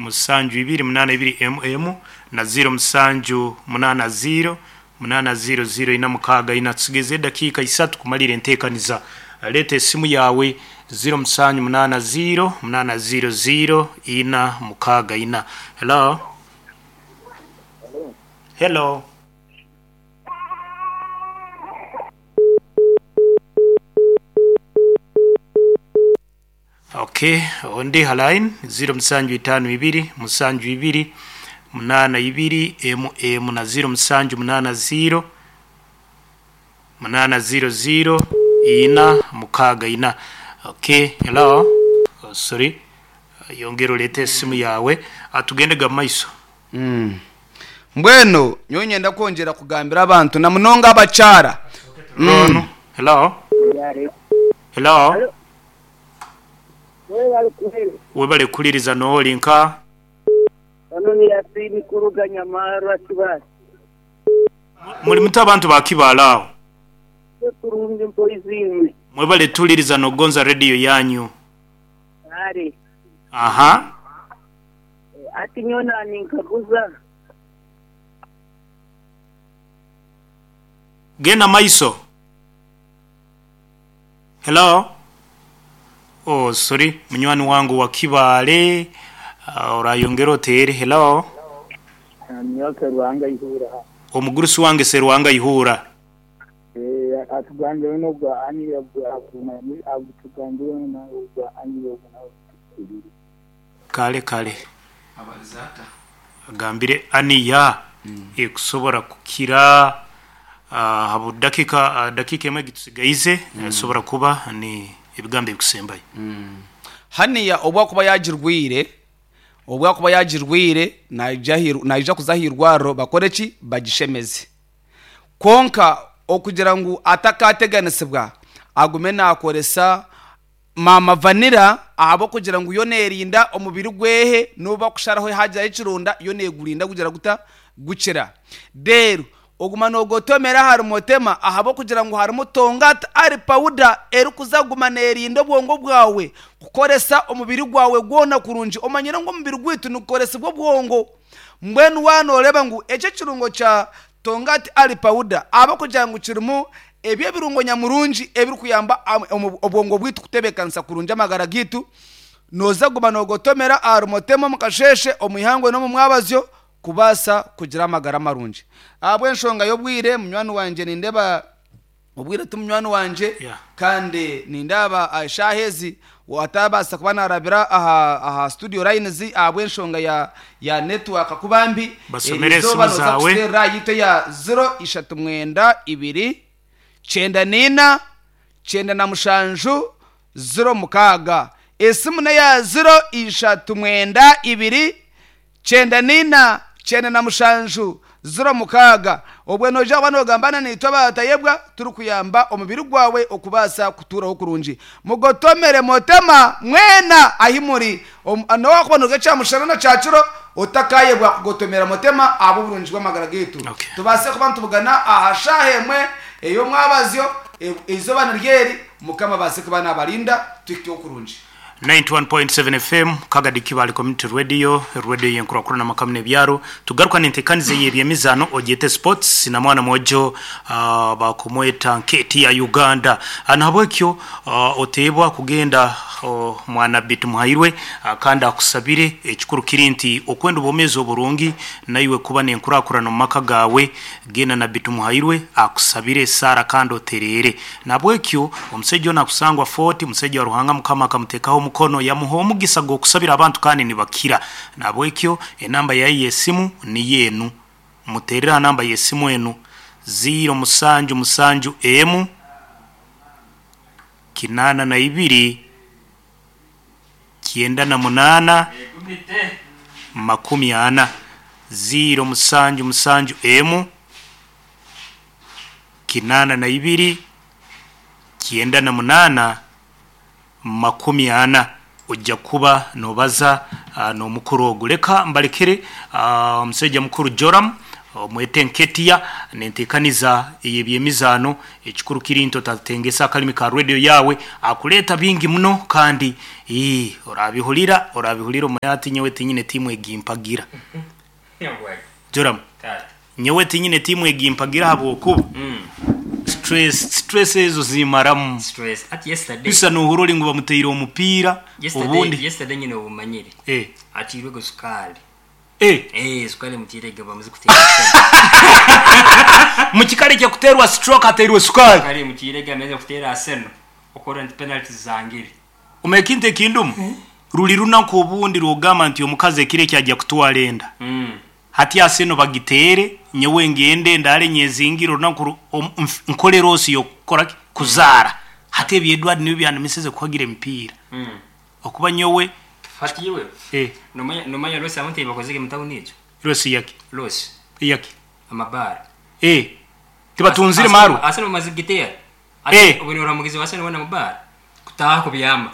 Musanju ibiri munaana ibiri emu emu na ziiro musanju munaana ziiro munaana ziiro ziiro ina mukaaga ina. Tusigaize edakiika isatu kumaliira enteekaniza. Leeta esimu yaawe ziiro musanju munaana ziiro munaana ziiro ziiro ina mukaaga ina. Hello? Hello? Ok, ondi ha line ziro musanju itaano ibiri musanju ibiri munaana ibiri emu emu na ziro musanju munaana ziro munaana ziro ziro ina mukaaga ina. Ok, hello? Oh, sorry. Yongera oleete esimu yaawe tugende ga mumaiso. Mbwenu nyowe nyenda kwongyera kugambira abantu na munonga abakyara. Onu, hello? Hello? Webale kuhuliriza n'oli nka? Ono ni Yasin kuruga Nyamarwa Kibaale. Muli muta abantu ba Kibaale agho? Twe kurungi mpoizi imwe. Mwebale tuliriza nogonza radio yanyu. Kale. Aha. Ati nyowe naninkaguza. Genda maiso. Hello. Oh sorry munywani wange owa Kibaale orayongera oteere. Hello. Nyowe Serwanga Ihura. Omugurusi wange Serwanga Ihura. Atugambire n'ogwa ani atugambire n'ogwa ani ogwo. Kale kale. Agambire aniya ekusobora kukira aha budakika dakika emwe egitusigaize esobora kuba ni ebigambo ebikusembayo. Haniya obu akuba yaagirwaire, obu akuba yaagirwaire naija aha naija kuza aha irwariro bakore ki? Bagishemeze. Kwonka okugira ngu atakaateganisibwa agume naakoresa Maama Vanilla ahabw'okugira ngu yo neerinda omubiri gwehe n'obu bakusharaho haagiraho ekironda yo neegurinda gugira guta? Gukira. Reero oguma noogotomera ahari Motema ahabw'okugira ngu harimu Tongat Ali pawuda erikuza kuguma neerinda obwongo bwawe kukoresa omubiri gwawe gwona kurungi. Omanyire ngu omubiri gwaitu nigukoresibwa obwongo. Mbwenu waaba nooreeba ngu eki ekirungo kya Tongat Ali pawuda ahabw'okugira ngu kirimu Ebyo ebirungo nyamurungi ebirikuyamba obwongo bwaitu kutebeekanisa kurungi amagara gaitu. Nooza kuguma noogotomera aha rumotema omu kasheeshe, omu ihangwe n'omu mwabazyo kubaasa kugira amagara marungi. Ahabw'enshonga y'obwire, munywani wangye nindeeba obwire ti munywani wangye kandi nindeeba eshaaha ezi ataabaasa kuba naarabira aha studio lines ahabw'enshonga ya network kuba mbi. Basomere Eriizooba esimu nooza zaawe. kututeerera aha yitu eya ziro ishatu mwenda ibiri kyenda n'eina kyenda na mushanju ziro mukaaga. Esimu n'eya ziro ishatu mwenda ibiri Kyenda n'eina, kyenda na mushanju, ziro mukaaga. Obwe noija kuba noogamba naitwe abatayebwa turikuyamba omubiri gwawe okubaasa kutuuraho kurungi. Mugotomere motema mwena ahi muri. N'obu wakuba nooruga kyamushana na kyakiro, otakaayebwa kugotomera motema ahabw'oburungi bw'amagara gaitu. Tubaase kuba nitubugana aha shaaha emwe ey'omwabazyo, eizooba niryo eri, Mukama abaase kuba naabarinda tuhikeho kurungi. 91.7 FM, Kagadi Kibaale Community Radio, Radio y'enkurakurana amaka n'ebyaro. Tugaruka n'entekaniza ey'ebyemizaano ogyete sports na mwana mwojo bakumweta Nketi ya Uganda. Nahabwekyo oteebwa kugenda mwana Bitumuhairwe kandi akusabire. Ekikuru kiri nti okwenda obwomeezi oburungi naiwe kuba n'enkurakurana omu maka gaawe, genda na Bitumuhairwe akusabire esaara kandi otereere. Nahabwekyo omusaija onu akusangwa Fort, musaija wa Ruhanga Mukama akamutekaho omukono yamuha omugisa gw'okusabira abantu kandi nibakira. Nahabwekyo enamba yaye y'esimu niyo enu. Muterere aha namba y'esimu enu, ziiro musanju musanju emu, kinaana na ibiri, kyenda na munaana, makumi ana. Ziiro musanju musanju emu, 82, 98, 40. Oija kuba nobaza n'omukuru ogu. Leka mbalekere omusaija mukuru Joram. Omwete Nketia nentekaniza ey'ebyemizaano. Ekikuru kiri nti otatengesa akalimi ka radio yaawe, akuleeta bingi muno kandi ii orabihurira orabihurira omanye ati nyowe tinyine tiimu egimpagira. Joram, nyowe tinyine tiimu egimpagira ahabw'okuba stress stress ezo zimaramu. Stress. Ati yesterday. Bisa nohura ori ngu bamuteire omupiira Yesterday, obundi yesterday nyine obumanyire. Eh. Atiirwego sukaali. Eh. Eh, sukali emutiirege bamaze kuteera Arsenal. Mukikare ky'okuteerwa stroke ateirwe sukaali. Sukali emutiirege amaze kuteera Arsenal. Okurora nti penalty zangire. Omanya ekintu ekindumu? Ruri runaku obundi rw'ogamba nti omukazi ekiro eki aja kutwara enda. Hati Arsenal bagiteere, nyowe ngende ndaare nyezingire orunaku ru nkore loss y'okukora ki? Kuzaara. Hati ebyo Edward nibyo byandemiseze kuhagira emipiira. Okuba nyowe. Hati iwe Eh. nomanya nomanya loss abantu eyibakozire omu tawuni egyo? Loss yaki? Loss. Eyaki? Amabaara. Eh. Tibatunzire marwa? Arsenal bamaze kugiteera. Eh. Obu noora mugizi wa Arsenal weena omu baara? Kutaaha kubyama.